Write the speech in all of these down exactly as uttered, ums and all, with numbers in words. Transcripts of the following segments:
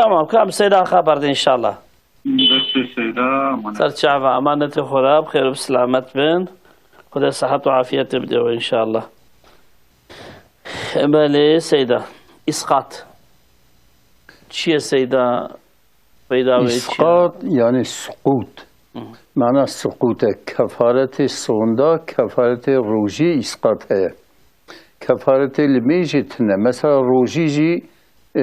Tamam, kam Seyda xeber de inşallah. Destê Seyda, emanet. Ser çava, emanetê xwe re, bi xêr û bi selamet bin. Xwedê sihet û afiyetê bide we inşallah. Belê Seyda, îsqat. Çi ye Seyda? Peyda wê çi ye? Îsqat, yani sukût. Hı. Mana sukût e. Kefaretê sonda, kefaretê rojî îsqat heye. Kefaretê limê jî tune. Mesela rojî jî, e,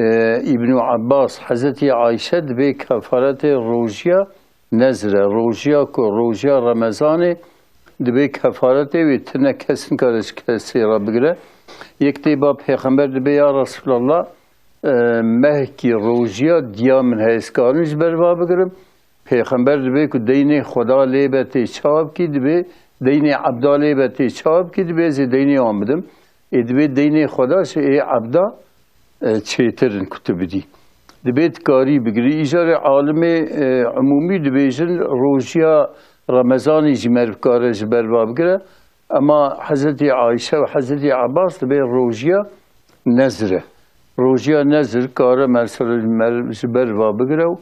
Îbnû Ebbas, Hezretî Ayşe dibê kefaretê rojiya nezr e. Rojiya ku, rojiya Remezanê dibê kefaretê wê tune, kes nikare ji kesê re bigire. Yek tê ba Pêxember dibê, ya Resulallah, e, mehkî rojiya diya min heye, ez karim ji ber va bigirim? Pêxember dibê ku deynê Xweda lê be tê çawa bikî, dibê deynê ebda lê be tê çawa bikî, dibê ez ê deynê wan bidim. Ê dibê deynê Xweda ji ê ebda, e, çêtir in ku tu bidî. Dibê tu karî bigirî. Îcarê alimê, e, umûmî dibêjin rojiya Remezanê jî meriv kare ji ber va bigire. Ema Hezretî Ayşe û Hezretî Ebbas dibê rojiya nezir e. Rojiya nezir kare mesela meriv ji ber va bigire û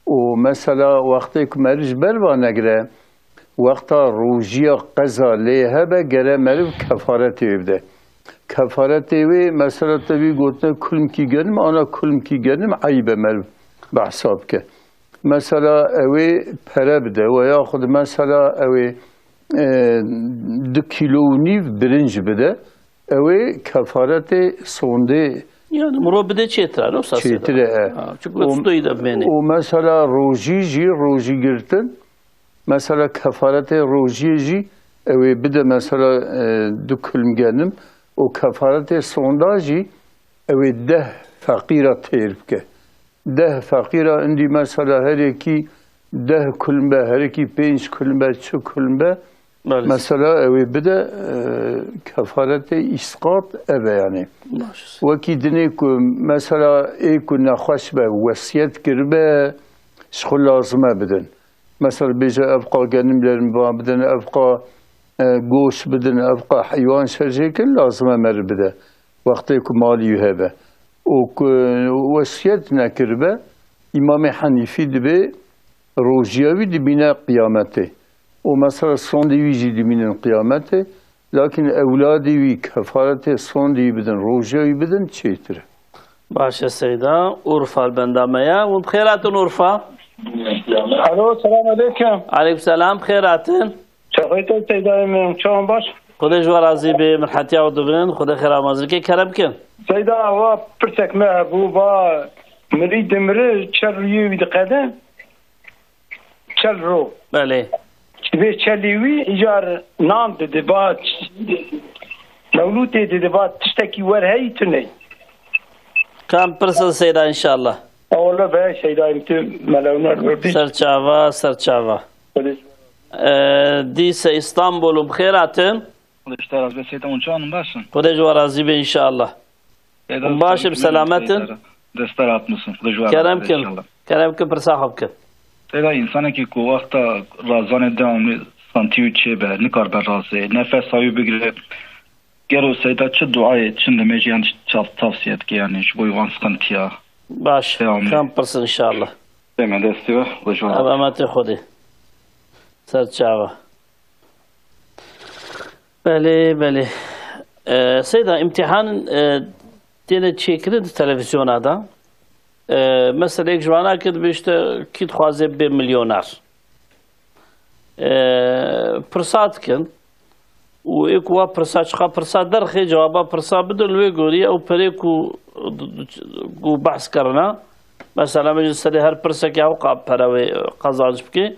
û mesela wextê ku meriv ji ber va negire, wexta rojiya qeza lê hebe gere meriv kefaretê wê bide. Kefaretê wê mesela te wî gotine kulmkî genim, ana kulmkî genim eyb e meriv behsa bike. Mesela ew ê pere bide we yaxud mesela ew ê, e, du kîlo û nîv birinc bide. Ew ê kefaretê sondê Yani miro bide çêtir e, ne wisa çêtir e, e. Ha, çünkü O, stoyî de bimêne. O mesela rojî jî, rojî girtin, mesela kefaretê rojiyê jî ew ê bide mesela, e, du kulm genim, û kefaretê sonda jî ew ê deh feqîra têr bike. Deh feqîra indî mesela her yekî deh kulm be, her yekî pênc kulm be, çi kulm be, Belê. Mesela ew ê bide, e, kefaretê îsqat ev e yani. Baş. Wekî dinê ku mesela ê ku nexweş be, wesiyet kiribe, ji xwe lazim e bidin. Mesela bêje ev qa genim lerim ba bidin, ev qa, e, goş bidin, ev qa heywan şerjê kin, lazim e meriv bide. Wextê ku malî wî hebe. Û ku wesiyet nekiribe, Îmamê Henîfî dibê rojiya wî dibîne qiyametê. Û mesela sondê wî jî dibînin qiyametê. Lakin ewladê wî kefaretê sondê wî bidin, rojiya wî bidin, çêtir e. Baş e Seyda. Urfa li benda me ye. Hûn bi xêr hatin Urfa. Alo, selam aleyküm. Aleyküm selam, bi xêr hatin. Çaxê te Seydayê min, çawan baş? Xwedê ji we razî be, min hetiya we dibin, Xwedê xêra mazî bike, kerem kin. Seyda, wa pirsek me hebû, va mirî dimiri, çel rûyê wî diqede, çel ro. Belê. Vê çelî wî îcar nan didi, va ç-, mewlûtê didi, va tiştekî wer heyî tune. Kam pirsin Seyda inşallah. Ewle be Seydayê min tu melewner werdî. Ser çava, ser çava. Xwedê. Ee, dîse Îstanbul û bi xêr hatin. Xwedê ji te razî be Seyda, hûn çawan in, baş in? Xwedê ji we razî be inşallah. Seyda, Hûn baş in, bi selamet in. Dest te rahat misin. Xwedê ji we razî be inşallah. Kerem kin, kerem kin pirsa xwe bikin. Seyda, însanekî ku wexta razanê dewamî santî wî çêbe, nikaribe razê, nefesa wî bigire. Gelo Seyda çi duayê çi nimêjî yan çav-, tavsiye dike, yanî ji bo wan sıkıntıya? Baş, Peyamê. Kam pirsin inşallah. Peyamê destî we, we ji we Ev razî. Emetê Xwedê. Ser çava. Belê, belê. Ee, Seyda, imtihan, e, têne çêkirin di televizyona da. Ee, mesela yek ji vana ki dibe işte kî dixwaze bê milyoner. Ee, pirsa dikin. Û ê ku wa pirsa, çiqa pirsa derxê, cewaba pirsa bidin, li wê gorî ew perê ku, ku behs kirina, mesela min ji serê her pirsekê ew qa pere wê qazanc bike,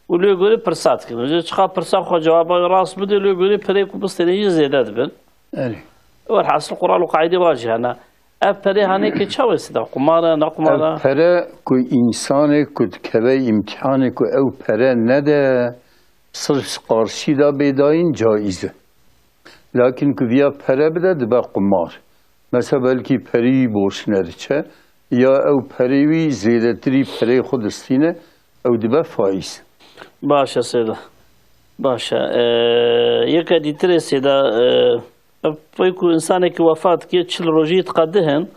û li wê gorî pirsa dikin. Ji çiqa pirsa xwe cewaba wê rast bide, li wê gorî perê ku bistêne jî zêde dibin. Erê. Welhasil Quran û qaîdê wa jî hene. Ev perê hanê ke çawa Seyda? Qumar e, ne qumar e? Ev pere ku însanê ku dikeve îmtihanê ku ew pere nede, sirf ji qarşî de bê dayîn caiz e. Lakin ku viya pere bide dibe qumar. Mesela belkî perî wî borç nediçe, ya ew perê wî zêdetirî perê xwe distîne, ew dibe faiz. Baş e Seyda. Baş e. Ee, yeke dîtirê Seyda, ee, Ev pey ku însanekî wefat kir, çil rojî diqedihin,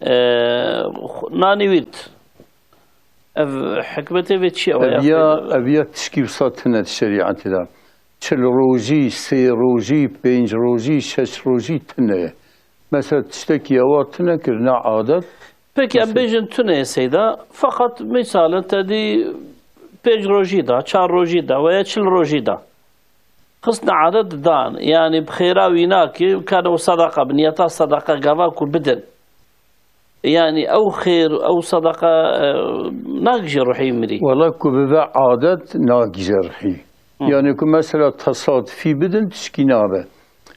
E, xu-, nanî wî did. Ev hikmetê vê çi ye? Ev ya, ev ya tişkî wisa tune di şerîetê de. Çil rojî, sê rojî, pênc rojî, şeş rojî tune ye. Mesela tiştekî ewa tune kirine adet. Peki, em Mesela bêjin tune ye seyda. Feqet misalin te dî pênc rojî da, çar rojî da veya çil rojî da. Xistine adet dan. Yani bi xêra wî nakê, kane û sedeqa, bi niyeta sedeqa gava ku bidin. Yani ew xêr, ew sedeqa, e, nagije ruhî mirî. Wela ku bibe adet nagije ruhî. Hı. Yani ku mesela tesadufî bidin tişkî nabe.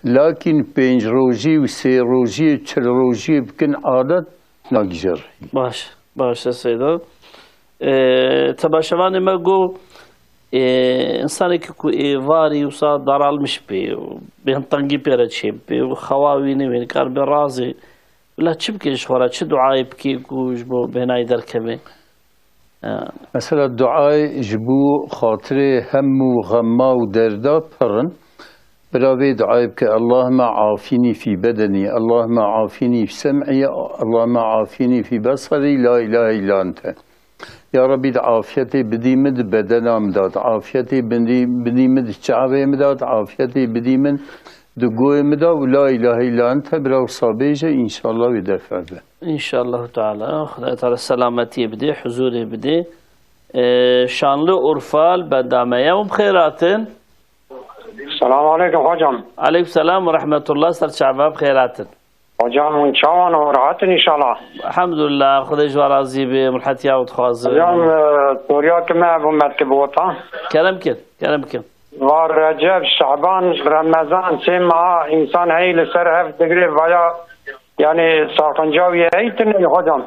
Lakin pênc rojî û sê rojî, çil rojî bikin adet nagije ruhî. Baş, baş e seyda. E, temaşevanê me got, e, insanekî ku êvarî wisa daralmiş bê, bêhntengî pê re çêbibê û xewa wî newê, nikaribe razê. Bila çi bike ji xwe re, çi duayê bike ku ji bo bêhnayî derkeve? E, Mesela duayê ji bo xatirê hem û xema û derda pir in. Bila vê duayê bike, Allahümme afini fî bedenî, Allahümme afini fî sem'i, Allahümme afini fî besarî, la ilahe illa ente. Ya Rebî, di afiyetê bidî min di bedena min de, di afiyetê bidî, bidî min di çavê min de, di afiyetê bidî min di goyê min de û la ilahe illa ente bira wisa bêje, înşallah wê defa be. Înşallah Teala. Xwedayê Teala selametiyê bidê, huzurê bidê. Ee, Şanlıurfa li benda me ye. Em bi xêr hatin. Selamun aleyküm hocam. Aleyküm selam ve rahmetullah. Ser çava bi xêr hatin. Hocam, hûn çawan û rahat in înşallah? Elhamdulillah, Xwedê ji we razî be, min hetiya we dixwazim. Hocam, e, soryakî me bû mertî bi wota. Kerem kin, kerem kin. Va Receb, Şaban, Remezan, sê meha însan hey li ser hev digre vaya, yani, saxinca wî hey tune hocam?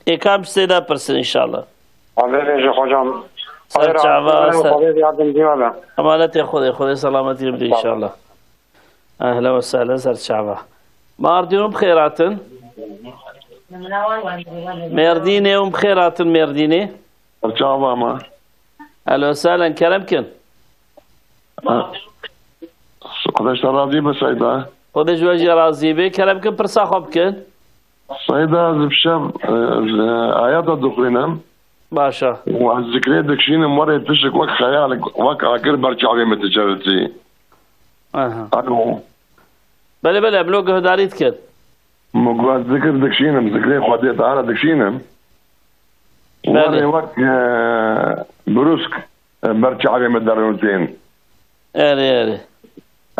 Ê kam sê de pirsin înşallah. Xwedê ji hocam. Ser çava, ser Xwedê yardimcî we be. Emanetê Xwedê, Xwedê selametî bide înşallah. Ehlen ve sehlen, ser çava. Mardîn û bi xêr hatin. Mêrdînê û bi xêr hatin Mêrdînê. Ser çava me. Ehlen ve sehlen, kerem kin. Xwedê ji te razî be Seyda. Xwedê ji we jî razî be. Kerem kin, pirsa xwe bikin. Seyda, ez bi şev, e, e, ayeta dixwînim. Baş e. Û ez zikrê dikişînim, werê tişik wek xeyalek, wek agir ber çavê min diçe. Aha. Alo. Belê, belê, em lo guhdarî dikin. Min got ez zikir dikişînim, zikrê Xwedê Teala dikişînim. Belê. Werê wek, e, brûsk, e, ber çavê min derûn tên. Erê, erê.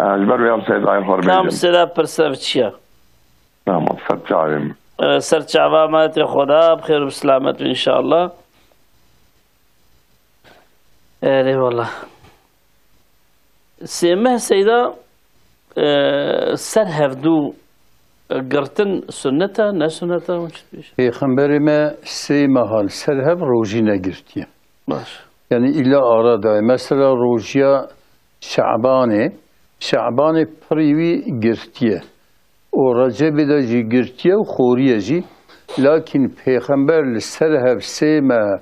E, ji ber wê em Seydayê xwe Kam bêjin. Sêra pirse bi çi ye? Tamam, ser çavê min. E, ser çava me tê Xweda, bi xêr û bi selamet be înşallah. Erê wala. Sê meh Seyda, e, ser hevdû girtin sunnet e, ne sunnet e, hûn çi dibêjin? Pêxemberê me sê meha li ser hev rojî negirtiye. Baş. Yani îlla ara daye. Mesela rojiya Şabanê, Şabanê pirî wî girtiye. Û Recebê de jî girtiye û xoriye jî. Lakin Pêxember li ser hev sê meh,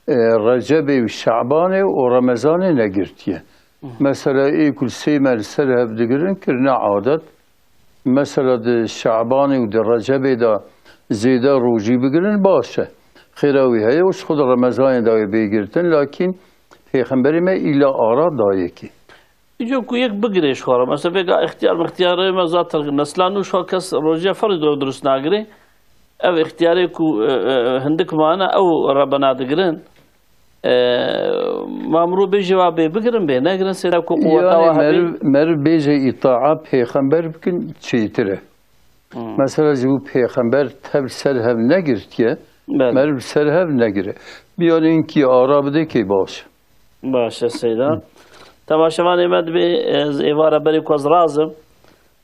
e, Recebê û Şabanê û Remezanê negirtiye. Mesela ê ku li sê meh li ser hev digirin kirine adet. Mesela di Şabanê û di Recebê de zêde rojî bigirin baş e. Xêra wî heye û ji xwe di Remezanê de wê bê girtin, lakin Pêxemberê me îla ara dayekê. Îco ku yek bigire ji xwe re. Mesela vêga îxtiyar mixtiyarê me zaten nesla nû ji xwe kes rojiya ferî dor durust nagire. Ev îxtiyarê ku, e, e, hindik mane ew rebena digirin. E, ma mirov bêje wa bê bigirin bê negirin sêra ku quweta Yani wa hebê. meriv, meriv bêje îtaa pêxember bikin çêtir e. Hmm. Mesela ji bo pêxember tev ser hev negirtiye, Belê. meriv ser hev negire. Biyanê hinkî ara bide kê baş. Baş e Seyda. Temaşevanê me dibê ez êvara berê ku ez razim.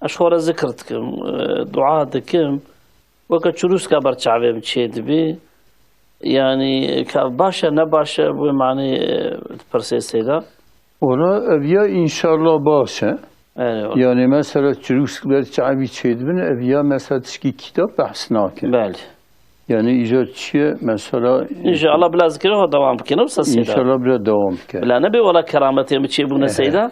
Ez xwe re zikir dikim, e, dua dikim. Weke çirûska ber çavê min çê dibî. Yanî ka baş e ne baş e, bi manê, e, pirsê Seyda. Wala ev ya înşallah baş e. Erê, wala. Yani mesela çirûsk ber çavî çêdibin, ev ya mesela tişkî kîtab behs nake. Belê. Yani îcar çi ye mesela? İnşallah bila zikirê xwe dewam bikin, wisa Seyda. İnşallah bila dewam bike. Bila nebe wala kerametê min çêbûne Seyda.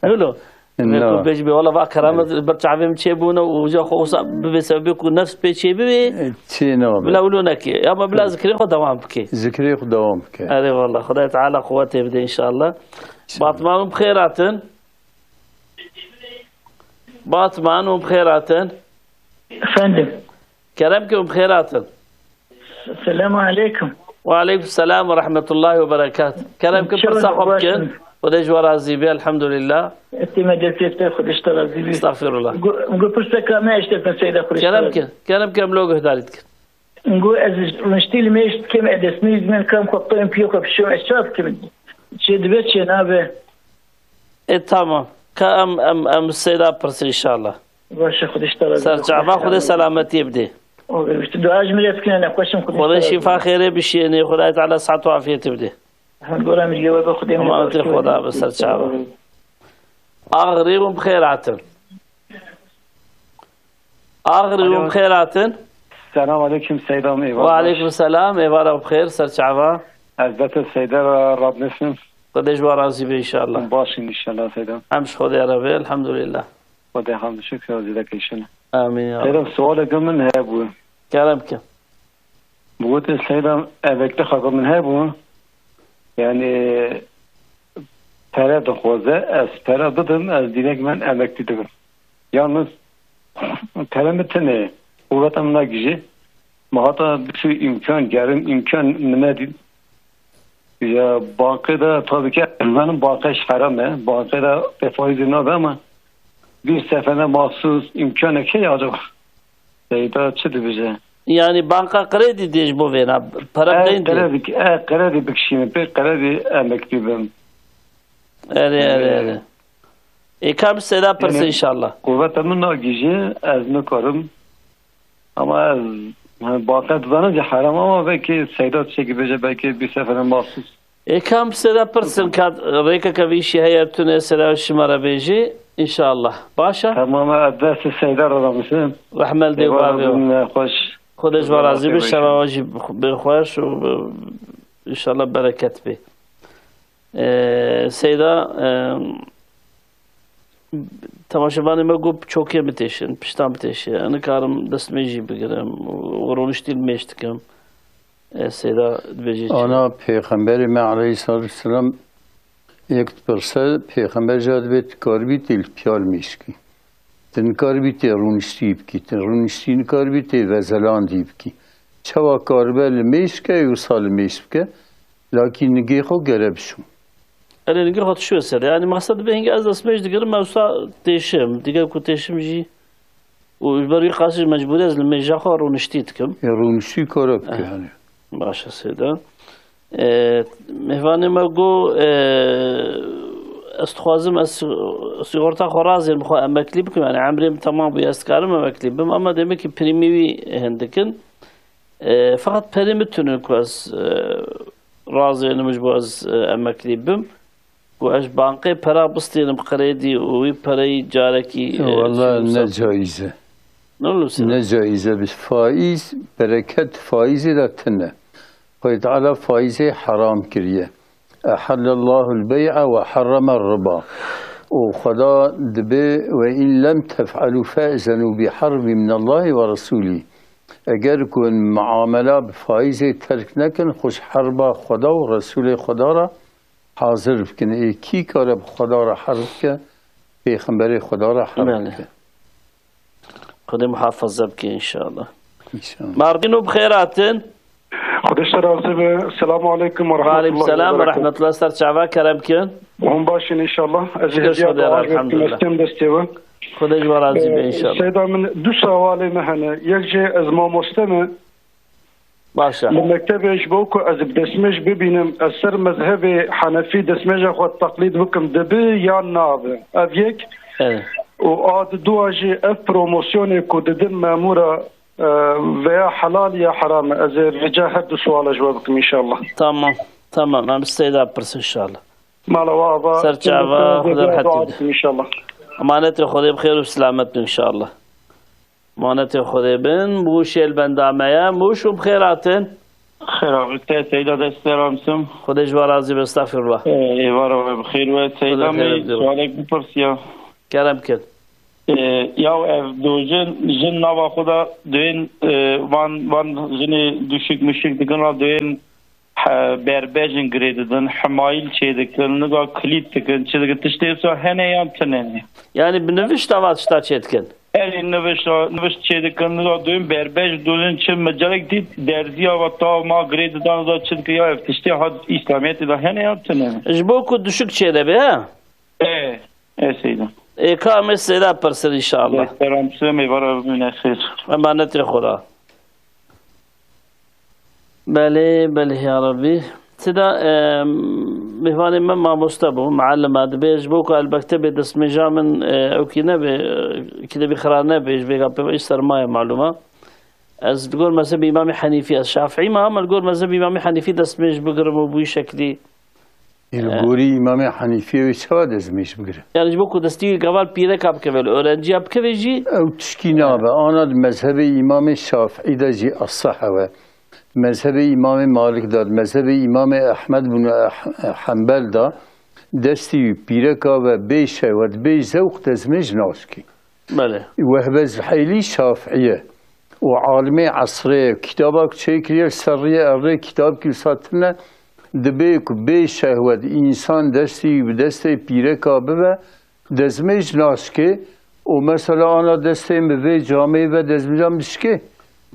Wilo. Vê ku bêjî bê, wala va keramet li ber çavê min çêbûne û uca xwe wisa bibê sebebê ku nefs pê çê bibê. Çê nabe. Bila wilo neke. Ya ma bila zikrê xwe dewam bike. Zikrê xwe dewam bike. Erê wala. Xwedayê Teala quwetê bide înşallah. Batman û bi xêr hatin. Batman û bi xêr hatin. Efendim. Kerem ke û bi xêr hatin. Selamu aleykum. Ve aleykum selam ve rahmetullahi ve berekat. Kerem ke, pirsa xwe bikin. Xwedê ji we razî be, elhamdulillah. Etê me destê te, Xwedê ji te razî be. Estağfirullah. Gu, gu pirseka me eşte te seyda Xwedê ji te razî be. Kerem ke, kerem ke em lo guhdarî dikin. Gu ez rûniştî li mêj dikim, ez destmêj dikim, kam xwe piyê xwe pişûm, ez çav dikim. Çê dibe, çê nabe. E, tamam. Ka em, em, em seyda pirsin inşallah. Baş e, Xwedê ji te razî be. Serçava Xwedê selametiyê bidê. Dua ji min re bikin, ne xweşim, Xwedê ji te razî be. Xwedê şîfa xêrê bişînê, Xwedayê Teala sihet û afiyetê bidê. Her gora mirgê we be, Xwedê min. Emanetê Xweda be, serçava. Axirî hûn bi xêr hatin. Axirî hûn bi xêr hatin. Selam aleyküm Seyda, êvar. Ve aleyküm selam, êvara bi xêr, serçava. Ez bete Seyda re radnesim. Xwedê ji we razî be inşallah. Baş in inşallah Seyda. Em ji Xwedê re be, elhamdulillah. Xwedê hamd şikir zî deke inşallah. Amîn ya Rab. Seyda, sualeke min hebû. Kerem ke. Bi gotê Seyda, emekli xaka min hebû. Yani pere dixwaze, ez pere bidim, ez direkt ben emekli dibim. Yalnız pere min tune, quvveta min nagihîje. Ma hata bir sürü imkan gerim, imkan min nedî. Ya banke de tabii ki, benim banka iş haram e. Banke de faizê nabe ama bir sefere mahsus imkanek heye acaba? Seyda çi dibêje? Yani banka kredi diye ji bo vêna, para E, bideyî diye. Kredi, e, kredi bikişînim, pê kredi emeklî bim. Erê, erê, erê. Ê, ka bi Seyda pirse inşallah. Quvveta min nagihîje, ez nikarim. Ama ez, yani, banka dizanim ki haram ama belki Seyda tiştekî bêje, belki bir sefere mahsus. Ê, kam sera pirsin, ka rêkeke vî îşî heye, tune sera şima re bêjî, înşallah. Baş e? Tamam, ez destê Seyda re ramişim. Rehmel dê û bavê we. Bin xweş. Xwedê ji we razî be, şeva we jî bê xweş û, e, înşallah bereket bê. E, Seyda, e, temaşevanê me got, çokê bitêşin, piştan bitêşe. Ez nikarim destmêjî bigirim û rûniştî li mêj dikim. E, Seyda dibêje çi? Ana Pêxemberê me aleyhissalatu vesselam yek dipirse, Pêxember jî dibê, tu karibî tê li piya li mêj kî. Tu nikaribî tê rûniştî bikî, tu rûniştî nikaribî tê vezelandî bikî. Çawa karibe li mêj ke, wisa li mêj bike, lakî nigê xwe gere bişû. Erê, nigê xwe dişûye ser. Yani mexsed dibe hingê ez destmêj digirim, ez wisa têşim. Digel ku têşim jî û ji ber wî qasî mecbûrî ez li mêja xwe rûniştî dikim. Ya rûniştî kara bike yani. Baş e, Seyda. E, mêvanê me got, e, ez dixwazim ez si-, sigorta xwe razêm, xwe emeklî bikim. Yani emrê min temam bûye, ez dikarim emeklî bim, ama demek ki prîmî wî hindik in. E, feqet perê min tune ku ez, e, razênim ji bo ez, e, emeklî bim. Ku ez ji bankê pera bistênim kredî û wî pereyî carekî, e, Walla çi ne wisa- caiz e. Ne wisa- Ne caiz e. Bi faîz, bereket faîzê de tune. Xwedê Teala faîzê heram kiriye. Ehallallahu l-bey'a ve harrama r-riba. Û Xweda dibê, "Ve in lem tef'alû fe'zenû bi harbin minallahi ve resûlî." Eger ku hûn muamela bi faîzê terk nekin, xwe ji herba Xweda û Resûlê Xweda re hazir bikin. Ê kî kare bi Xweda re herb bike, Pêxemberê Xweda re herb Belê. bike. Xwedê muhafaza bike înşallah. Înşallah. Mardîn û bi xêr hatin. Xwedê ji te razî be. Selamu aleykum ve Aleykum rahmetullahi selam ve ve berekatuhu. Rahmetullah, ser çava kerem kin. Hûn baş in înşallah. Ez ê Şükür hediya Xwedê, dua elhamdülillah. Destê we. Xwedê ji we razî be Ee, înşallah. Seyda min du sewalê me hene. Yek jî ez mamoste me. Baş e. Li mektebê ji bo ku ez bi destmêj bibînim, ez ser mezhebê Henefî destmêja xwe teqlîd bikim, dibi yan nabe? Ev yek. Evet. Û a di dua jî ev promosyonê ku didin memûra, e, veya helal ya heram e? Ez ê rica her du suala ji we bikim înşallah. Tamam. Tamam. Em Seyda pirs înşallah. Mala we ava. Ser çava, Xwedê rehetî bide. Dua bikim înşallah. Emanetê Xwedê bi xêr û selamet bin înşallah. Emanetê Xwedê bin, Mûşê li benda me ye. Mûş û bi xêr hatin. Xêr hatin, Seyda destê ramsim. Xwedê ji we razî be, estexfirullah. Ê, êvara we bi xêr we. Seyda Xwedê xêr me, bide. Sualek bipirsiya. Kerem kin. E, ya ev du jin, jin nava xwe de duyên, e, van, van jinê duşik muşik dikin ra duyên he, berbejin girê didin, hemayîl çê dikin, niza kilît dikin, çi dikin, tiştê wisa hene yan tune ne? Yani bi nivişta va tişta çê dikin? Erê nivişta, nivişt çê dikin, niza duyên berbej duyên çi micelek dît, derziya va ta ma girê didan, niza çi dikin, ya ev tiştê ha İslamiyetê de hene yan tune ne? Ji bo ku duşik çê de be, ha? E, e Seyda. Ê, ka em ê Seyda pirsin inşallah. Selam, Seyda, mêvara bimîne xêr. Emanetê xwe ra. Belê, belê ya Rabbi. Seyda, e, mêvanê me mamoste bû, muallim a, dibê ji bo ku elbekte bê destmêja min, e, ew kî nebe, e, kî de bî xira nebe, ji vêga pê sermaye malûm a. Ez li gor mezhebê Îmamê Henîfî, ez Şafîî me, ama li gor mezhebê Îmamê Henîfî destmêj bigirim û bûyî şeklî. Ê, li gorî Îmamê Henîfî wê çawa destmêj bigire? Yani ji bo ku destî gaval pîreka bikeve, li öğrenciya bikeve jî. Ew tişkî nabe. Ana di mezhebê Îmamê Şafîî de jî eseh ew e. Mezhebê Îmamê Malik de, di mezhebê Îmamê Ehmed bin Eh-, Hembel de destî pîreka ve bê şehwet, bê zewq destmêj naşkî. Belê. Wehbe Zuheylî Şafî ye. Û alimê esrê ye. Kitaba ku çêkiriye li ser riyê erdê, kitabkî wisa tune, dibê ku bê şehwet însan destî bi destê pîreka bibe, dezmêj naşkê. Û mesela ana destê min bi vê camê ve dezmêja min dişkê.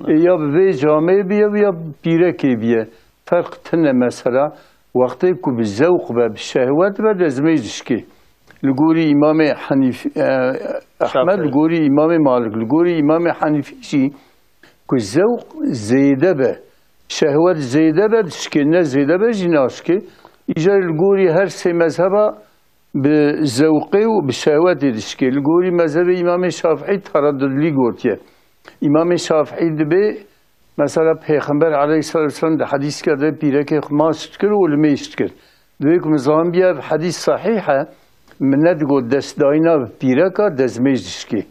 Ê ya bi vê camê biye, ya pîrekê biye. Ferq tune mesela. Wextê ku bi zewq be, bi şehwet be, dezmêj dişkê. Li gorî Îmamê Henîf-, e, Ehmed, Şafîî. Li gorî Îmamê Malik, li gorî Îmamê Henîfî jî ku zewq zêde be, şehwet zêde be, dişkê, ne zêde be jî naşkê. Îcar li gorî her sê mezheba bi zewqê û bi şehwetê dişkê. Li gorî mezhebê Îmamê Şafîî tereddudlî gotiye. Îmamê Şafîî dibê, mesela, Pêxember aleyhisselatu vesselam di hedîseke de pîrekê xwe maç dikir û limêj dikir. Dibê ku min zanibî ev hedîs sehîh e, min nedigot destdayîna bi pîreka dezmêj dişkê.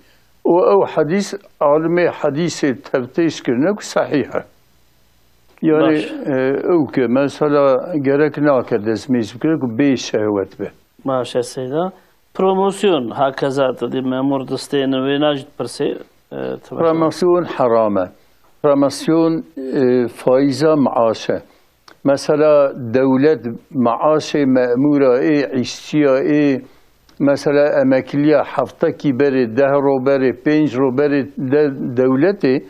Û ew hedîs alimê hedîsê tevtêş kirine ku sehîh e. Yani, Baş. E, ew ke mesela gerek nake destmêj bikire ku bê şehwet be. Baş e Seyda. Promosyon, hakeza, tu dî memûr distêne, wêna jî dipirsê, e, tu mesela. Promosyon heram e. Promosyon, e, faiza maaş e. Mesela dewlet maaşê memûra ê, îşçiya ê, mesela emekliya heftekî berê, deh ro berê, pênc ro berê de dewletê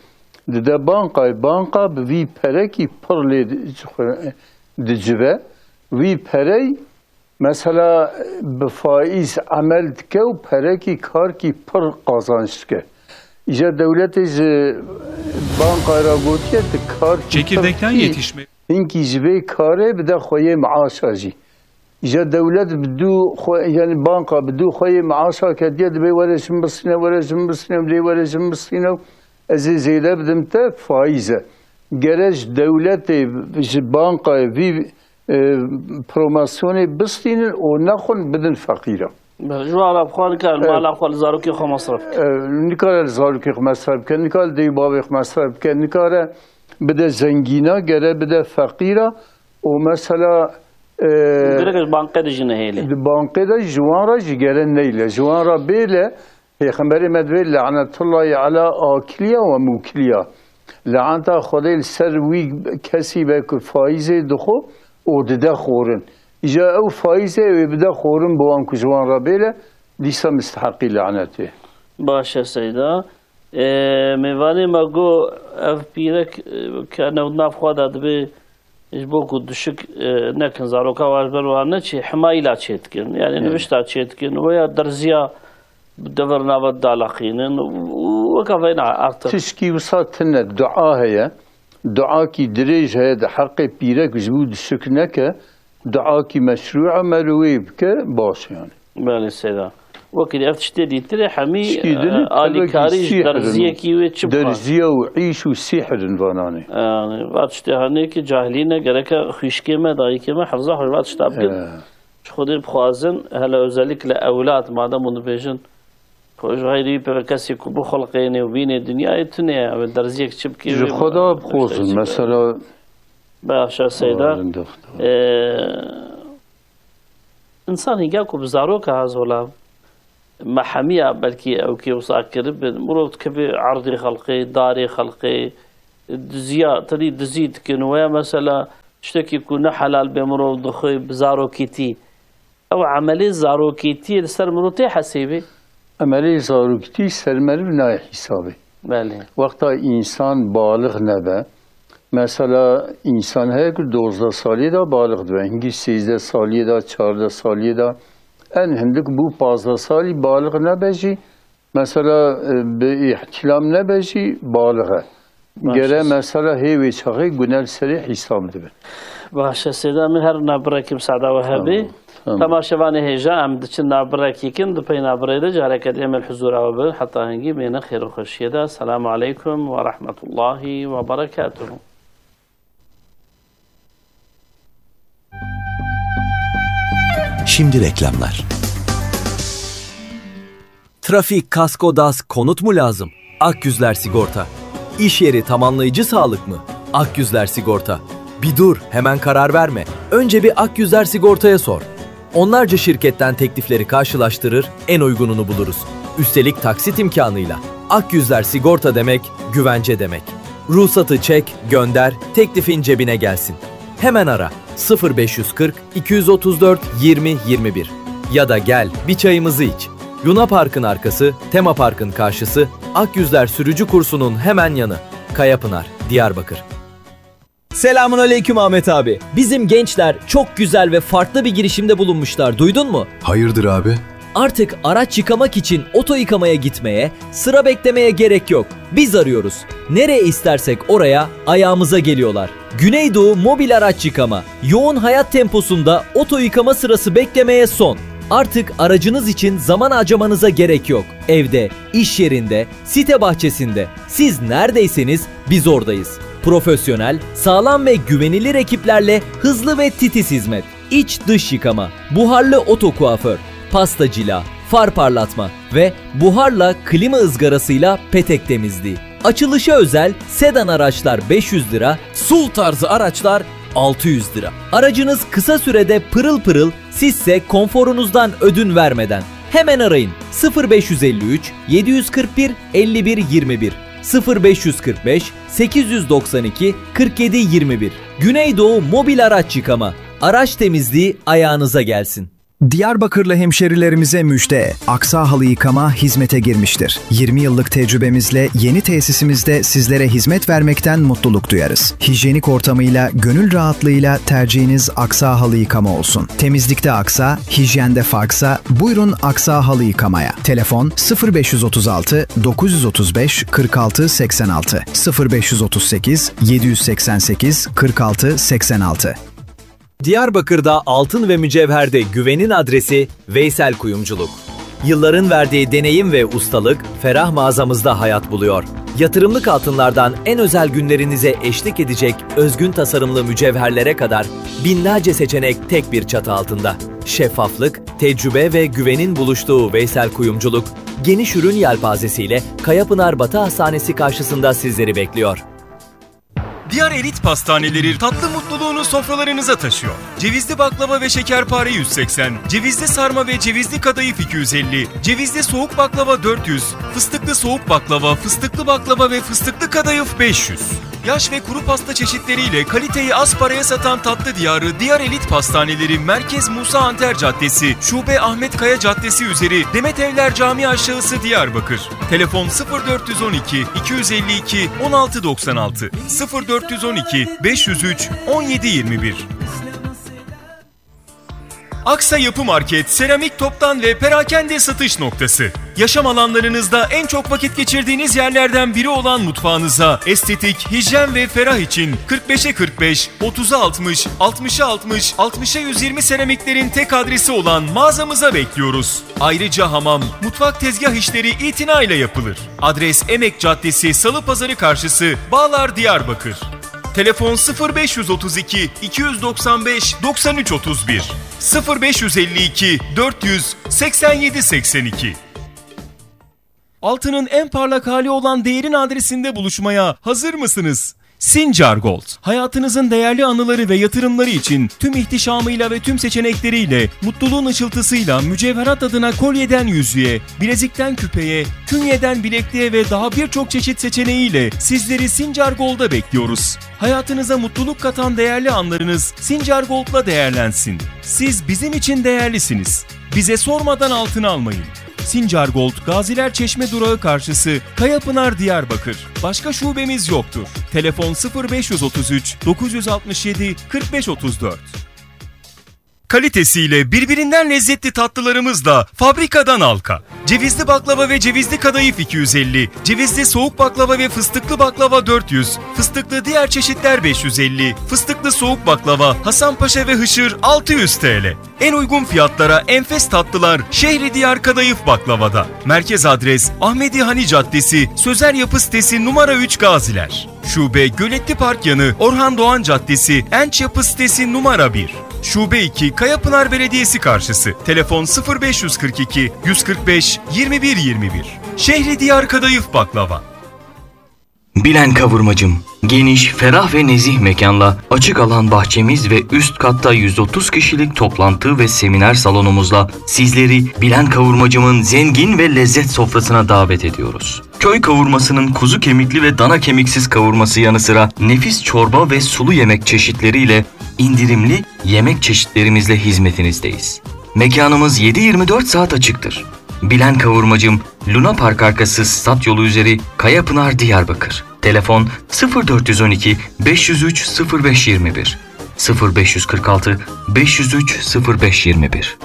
dide bankayê, banka bi vî perekî pir lê di-, dicive. Vî perey mesela bi faîz emel dike û perekî karkî pir qazanç dike. Îja dewletê ji bankayê re gotiye, tu karkî pir Çekirdekten dikî, yetişme. Hinkî ji vê karê bide xweyê maaşa jî. Îja dewlet bi dû xwe, yani banka bi dû xweyê maaşa ketiye, dibê were ji min bistîne, were ji min bistîne, lê were ji min bistîne û ez ê zêde bidim te, faîz e. Gere ji dewletê, ji bankayê vî e, promosyonê bistînin û nexwin bidin feqîra. Belê, ji wan re bi xwe nikare Evet. mala xwe li zarokê xwe mesref bike. E, nikare li zarokê xwe mesref bike, nikare li dê û bavê xwe mesref bike, nikare bide zengîna, gere bide feqîra û mesela, e, Gerek ji bankê de jî nehêle. Di bankê de ji wan re jî gere neyle. Ji wan re bêle, Pêxemberê me divê, "Lanetullahi ala akiliya ve mukiliya." Laneta Xwedê li ser wî kesî be ku faîzê dixwe û dide xorin. Îja ew faîzê wê bide xorin bi wan ku ji wan re bêle, dîsa misteheqî lanetê. Baş e Seyda. Ê, mêvanê me got, ev pîrek, e, ke new nav xwe de dibê, ji bo ku duşik, e, nekin, zaroka wan ji ber wan neçê, himayîla çê dikin. Yani Evet. nivişta çê dikin. Weya derziya bi devir nava dalaqînin û weka veyna artık. Tişkî wisa tine, dua heye. Duakî dirêj heye di heqê pîrek ji bo duşik neke. Duakî meşrû e, merû wê bike, baş e yani. Belê Seyda. Wekî ev tiştê dîtir e, hemî, Tişkî din e, e, alîkarî ji sîhir in. Derziyekî wê çi bixwe? Derziya û îş û sîhir in vananê. Yani, va tiştê hanê ki cahilî ne, gereke xwîşkê me, dayikê me, hefza xwe va tişta bikin. He. Ji Xwedê bixwazin, hele özellikle ewlad, madem hûn dibêjin, xwe ji xeyrî pê kesê ku bixulqênê û bînê dinyayê tune ye, ew derziyek çi bikê Ji wê Xweda bixwazin, mesela. Başa Seyda. Ee, Însan hînga ku bi zaroka ha zola, me hemiya belkî ew kê wisa kiribin. Mirov dikeve erdê xelqê, darê xelqê, diziya, tenî dizî dikin. Weya mesela tiştekî ku ne helal bê mirov dixwe bi zarokîtî. Ew emelê zarokîtiyê li ser mirov tê hesêbê? Emelê zarokîtî ser meriv nayê hîsabê. Belê. Wexta însan balix nebe, mesela însan heye ku dozdeh saliyê de balix dibe, hingî sêzdeh saliyê de, çardeh saliyê de, en hindik bû pazdeh salî balix nebe jî, mesela, e, bi îhtîlam nebe jî balix e. Baş Gere e. Mesela hê wê çaxê gune li serê hîsab dibe. Baş e, Seyda, min her navbirekî misada we hebî. Tamam, tamam. Temaşevanê hêja, em diçin navbirekî kin, di pey navbirê de careke dê em li huzura we bin. Heta hingî bêne xêr û xweşiyê de. Selamu aleykum ve rahmetullahi ve berekatuhu. Şimdi reklamlar. Trafik, kasko, DAS, konut mu lazım? Akyüzler Sigorta. İş yeri tamamlayıcı sağlık mı? Akyüzler Sigorta. Bir dur, hemen karar verme. Önce bir Akyüzler Sigorta'ya sor. Onlarca şirketten teklifleri karşılaştırır, en uygununu buluruz. Üstelik taksit imkanıyla. Akyüzler Sigorta demek, güvence demek. Ruhsatı çek, gönder, teklifin cebine gelsin. Hemen ara. Sıfır beş yüz kırk, iki yüz otuz dört, yirmi, yirmi bir. Ya da gel, bir çayımızı iç. Luna Park'ın arkası, Tema Park'ın karşısı, Akyüzler sürücü kursunun hemen yanı. Kayapınar, Diyarbakır. Selamun aleyküm Ahmet abi. Bizim gençler çok güzel ve farklı bir girişimde bulunmuşlar. Duydun mu? Hayırdır abi? Artık araç yıkamak için oto yıkamaya gitmeye, sıra beklemeye gerek yok. Biz arıyoruz. Nereye istersek oraya ayağımıza geliyorlar. Güneydoğu Mobil Araç Yıkama. Yoğun hayat temposunda oto yıkama sırası beklemeye son. Artık aracınız için zaman harcamanıza gerek yok. Evde, iş yerinde, site bahçesinde. Siz neredeyseniz biz oradayız. Profesyonel, sağlam ve güvenilir ekiplerle hızlı ve titiz hizmet. İç dış yıkama, buharlı oto kuaför, pasta cila, far parlatma ve buharla klima ızgarasıyla petek temizliği. Açılışa özel sedan araçlar beş yüz lira, SUV tarzı araçlar altı yüz lira. Aracınız kısa sürede pırıl pırıl, sizse konforunuzdan ödün vermeden. Hemen arayın: sıfır beş yüz elli üç, yedi yüz kırk bir, elli bir yirmi bir, sıfır beş yüz kırk beş, sekiz yüz doksan iki, kırk yedi yirmi bir. Güneydoğu Mobil Araç Yıkama. Araç temizliği ayağınıza gelsin. Diyarbakırlı hemşerilerimize müjde. Aksa Halı Yıkama hizmete girmiştir. Yirmi yıllık tecrübemizle yeni tesisimizde sizlere hizmet vermekten mutluluk duyarız. Hijyenik ortamıyla, gönül rahatlığıyla tercihiniz Aksa Halı Yıkama olsun. Temizlikte Aksa, hijyende farksa, buyurun Aksa Halı Yıkama'ya. Telefon: sıfır beş yüz otuz altı, dokuz yüz otuz beş, kırk altı seksen altı, sıfır beş yüz otuz sekiz, yedi yüz seksen sekiz, kırk altı seksen altı. Diyarbakır'da altın ve mücevherde güvenin adresi Veysel Kuyumculuk. Yılların verdiği deneyim ve ustalık ferah mağazamızda hayat buluyor. Yatırımlık altınlardan en özel günlerinize eşlik edecek özgün tasarımlı mücevherlere kadar binlerce seçenek tek bir çatı altında. Şeffaflık, tecrübe ve güvenin buluştuğu Veysel Kuyumculuk, geniş ürün yelpazesiyle Kayapınar Batı Hastanesi karşısında sizleri bekliyor. Diyar Elit Pastaneleri tatlı mutluluğunu sofralarınıza taşıyor. Cevizli baklava ve şekerpare yüz seksen, cevizli sarma ve cevizli kadayıf iki yüz elli, cevizli soğuk baklava dört yüz, fıstıklı soğuk baklava, fıstıklı baklava ve fıstıklı kadayıf beş yüz. Yaş ve kuru pasta çeşitleriyle kaliteyi az paraya satan tatlı diyarı Diyar Elit Pastaneleri, Merkez Musa Anter Caddesi, Şube Ahmet Kaya Caddesi üzeri, Demet Evler Camii aşağısı, Diyarbakır. Telefon: sıfır dört yüz on iki, iki yüz elli iki, on altı doksan altı, sıfır dört yüz on iki, beş yüz üç, on yedi yirmi bir. Aksa Yapı Market, seramik toptan ve perakende satış noktası. Yaşam alanlarınızda en çok vakit geçirdiğiniz yerlerden biri olan mutfağınıza estetik, hijyen ve ferah için kırk beşe kırk beş, otuza altmış, altmışa altmış, altmışa yüz yirmi seramiklerin tek adresi olan mağazamıza bekliyoruz. Ayrıca hamam, mutfak tezgah işleri itinayla yapılır. Adres: Emek Caddesi, Salı Pazarı karşısı, Bağlar, Diyarbakır. Telefon: sıfır beş yüz otuz iki, iki yüz doksan beş, doksan üç otuz bir, sıfır beş yüz elli iki, dört yüz, seksen yedi seksen iki. Altının en parlak hali olan değerin adresinde buluşmaya hazır mısınız? Sincar Gold, hayatınızın değerli anıları ve yatırımları için tüm ihtişamıyla ve tüm seçenekleriyle, mutluluğun ışıltısıyla mücevherat adına kolyeden yüzüğe, bilezikten küpeye, künyeden bilekliğe ve daha birçok çeşit seçeneğiyle sizleri Sincar Gold'a bekliyoruz. Hayatınıza mutluluk katan değerli anlarınız Sincar Gold'la değerlensin. Siz bizim için değerlisiniz. Bize sormadan altın almayın. Sincar Gold, Gaziler Çeşme durağı karşısı, Kayapınar, Diyarbakır. Başka şubemiz yoktur. Telefon: sıfır beş yüz otuz üç, dokuz yüz altmış yedi, kırk beş otuz dört. Kalitesiyle birbirinden lezzetli tatlılarımızla fabrikadan halka. Cevizli baklava ve cevizli kadayıf iki yüz elli, cevizli soğuk baklava ve fıstıklı baklava dört yüz, fıstıklı diğer çeşitler beş yüz elli, fıstıklı soğuk baklava, Hasanpaşa ve Hışır altı yüz T L. En uygun fiyatlara enfes tatlılar Şehri Diyar Kadayıf Baklava'da. Merkez adres: Ahmedi Hani Caddesi, Sözer Yapı sitesi, numara üç, Gaziler. Şube: Göletli Park yanı, Orhan Doğan Caddesi, Enç Yapı sitesi, numara bir. Şube iki: Kayapınar Belediyesi karşısı. Telefon: sıfır beş yüz kırk iki, yüz kırk beş, yirmi bir yirmi bir. Şehri Diyar Kadayıf Baklava. Bilen Kavurmacım, geniş, ferah ve nezih mekanla açık alan bahçemiz ve üst katta yüz otuz kişilik toplantı ve seminer salonumuzla sizleri Bilen Kavurmacım'ın zengin ve lezzet sofrasına davet ediyoruz. Köy kavurmasının kuzu kemikli ve dana kemiksiz kavurması yanı sıra nefis çorba ve sulu yemek çeşitleriyle indirimli yemek çeşitlerimizle hizmetinizdeyiz. Mekanımız yedi yirmi dört saat açıktır. Bilen Kavurmacım, Luna Park arkası, stat yolu üzeri, Kayapınar, Diyarbakır. Telefon: sıfır dört yüz on iki, beş yüz üç, sıfır beş yirmi bir, sıfır beş yüz kırk altı, beş yüz üç, sıfır beş yirmi bir.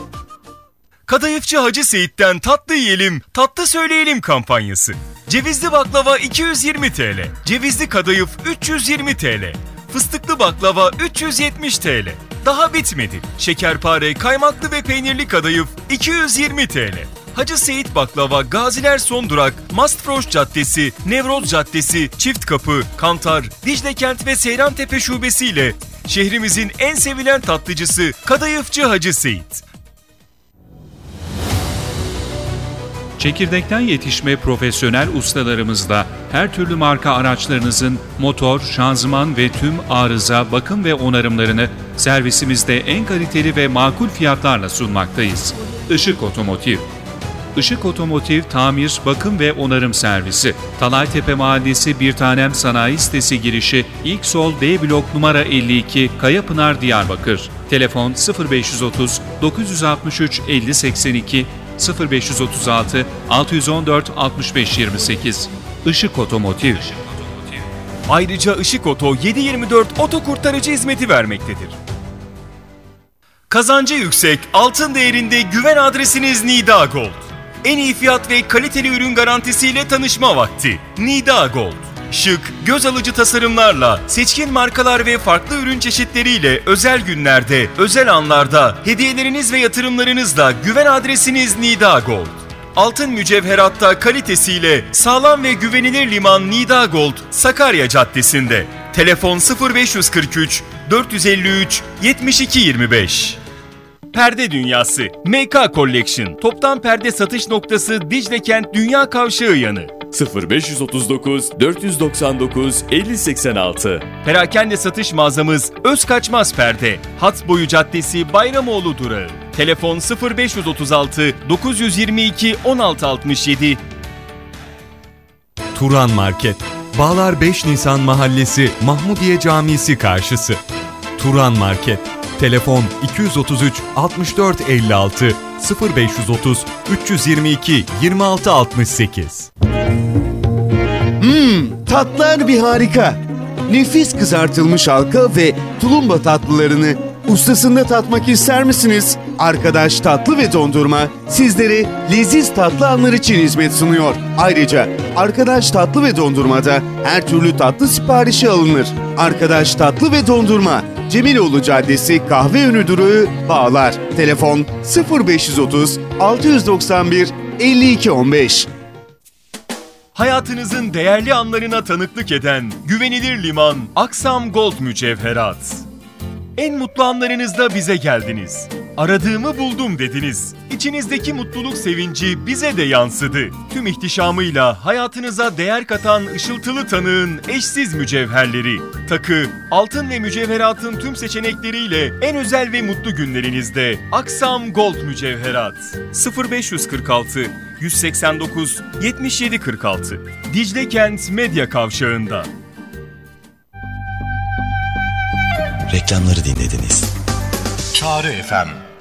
Kadayıfçı Hacı Seyit'ten tatlı yiyelim, tatlı söyleyelim kampanyası. Cevizli baklava iki yüz yirmi T L, cevizli kadayıf üç yüz yirmi T L, fıstıklı baklava üç yüz yetmiş T L. Daha bitmedi. Şekerpare, kaymaklı ve peynirli kadayıf iki yüz yirmi T L. Hacı Seyit Baklava, Gaziler Son Durak, Mastfroş Caddesi, Nevroz Caddesi, Çift Kapı, Kantar, Dicle Kent ve Seyrantepe şubesiyle şehrimizin en sevilen tatlıcısı Kadayıfçı Hacı Seyit. Çekirdekten yetişme profesyonel ustalarımızla her türlü marka araçlarınızın motor, şanzıman ve tüm arıza, bakım ve onarımlarını servisimizde en kaliteli ve makul fiyatlarla sunmaktayız. Işık Otomotiv. Işık Otomotiv tamir, bakım ve onarım servisi. Talaytepe Mahallesi Bir Tanem Sanayi Sitesi girişi, ilk sol, B blok, numara elli iki, Kayapınar, Diyarbakır. Telefon: sıfır beş yüz otuz, dokuz yüz altmış üç, elli seksen iki, sıfır beş yüz otuz altı, altı yüz on dört, altmış beş yirmi sekiz. Işık Otomotiv. Ayrıca Işık Oto yedi yirmi dört oto kurtarıcı hizmeti vermektedir. Kazancı yüksek, altın değerinde güven adresiniz Nida Gold. En iyi fiyat ve kaliteli ürün garantisiyle tanışma vakti. Nida Gold. Şık, göz alıcı tasarımlarla, seçkin markalar ve farklı ürün çeşitleriyle özel günlerde, özel anlarda hediyeleriniz ve yatırımlarınızla güven adresiniz Nida Gold. Altın mücevheratta kalitesiyle sağlam ve güvenilir liman Nida Gold, Sakarya Caddesi'nde. Telefon: sıfır beş yüz kırk üç, dört yüz elli üç, yetmiş iki yirmi beş. Perde Dünyası, M K Collection, toptan perde satış noktası Dicle Kent Dünya Kavşağı yanı. sıfır beş yüz otuz dokuz, dört yüz doksan dokuz, elli seksen altı. Perakende satış mağazamız Özkaçmaz Perde, Hat Boyu Caddesi, Bayramoğlu durağı. Telefon: sıfır beş yüz otuz altı, dokuz yüz yirmi iki, on altı altmış yedi. Turan Market, Bağlar beş Nisan Mahallesi, Mahmudiye Camisi karşısı. Turan Market. Telefon: iki yüz otuz üç, altmış dört elli altı, sıfır beş yüz otuz, üç yüz yirmi iki, yirmi altı altmış sekiz. Hmm, tatlar bir harika. Nefis kızartılmış halka ve tulumba tatlılarını ustasında tatmak ister misiniz? Arkadaş Tatlı ve Dondurma sizlere leziz tatlı anlar için hizmet sunuyor. Ayrıca Arkadaş Tatlı ve Dondurma'da her türlü tatlı siparişi alınır. Arkadaş Tatlı ve Dondurma, Cemiloğlu Caddesi, Kahveönü durağı, Bağlar. Telefon: sıfır beş yüz otuz, altı yüz doksan bir, elli iki on beş. Hayatınızın değerli anlarına tanıklık eden güvenilir liman Aksam Gold Mücevherat. En mutlu anlarınızda bize geldiniz. "Aradığımı buldum." dediniz. İçinizdeki mutluluk sevinci bize de yansıdı. Tüm ihtişamıyla hayatınıza değer katan ışıltılı tanığın eşsiz mücevherleri. Takı, altın ve mücevheratın tüm seçenekleriyle en özel ve mutlu günlerinizde. Aksam Gold Mücevherat. sıfır beş yüz kırk altı, yüz seksen dokuz, yetmiş yedi kırk altı. Dicle Kent Medya Kavşağı'nda. Reklamları dinlediniz. Çağrı F M.